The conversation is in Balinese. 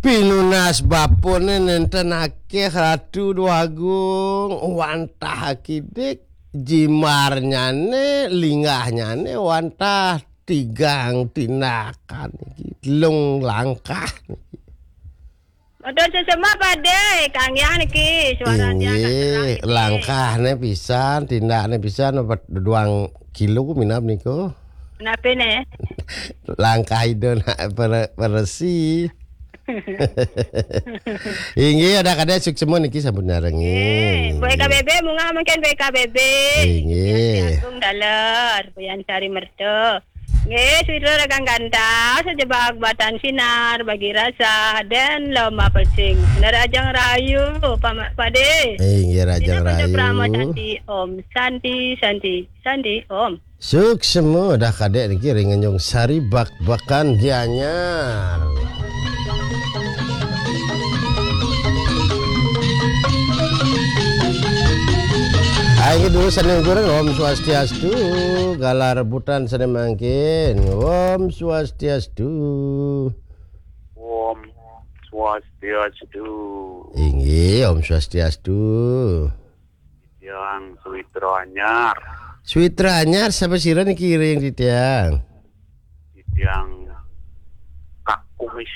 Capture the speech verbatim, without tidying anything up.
Pinunas bapane nenten akeh Ratu Déwagung, wantah akidik, jimarnyane, linggahnyane wantah tigang tindakan niki, telung langkah niki. Matur suksma, Pade, Kang Yang niki, suaranya agak terang niki. Langkahne pisan, tindakne pisan, apa duang kilo minab niku? Kenapa ne? Langkah Ida nak pere-, peresi. Inggih, Adah Kadek suksma niki sampun nyarengin. Nggih, B K B B, munggah mangkin B K B B. Inggih. Agung Daler, Buyan Sari Merta. Nggih, Switra Regang Gantah, sejebak batan sinar bagi rasa dan loma pecing. Nerajang Rayu, Pama-, Pade. Inggih, Rajang Dina Rayu. Prama Santi, Om Santi, Santi, Santi, Om. Suksma Adah Kadek niki ring Tanjung Sari, Bakbakan Gianyar. Ayo dulu sane kurang, Om Swastiastu, galah rebutan sane mangkin. Om Swastiastu. Om Swastiastu. Inggih, Om Swastiastu. Yang Switra Anyar. Switra Anyar, sapa sira niki ring titiang? Titiang Kak Kumis.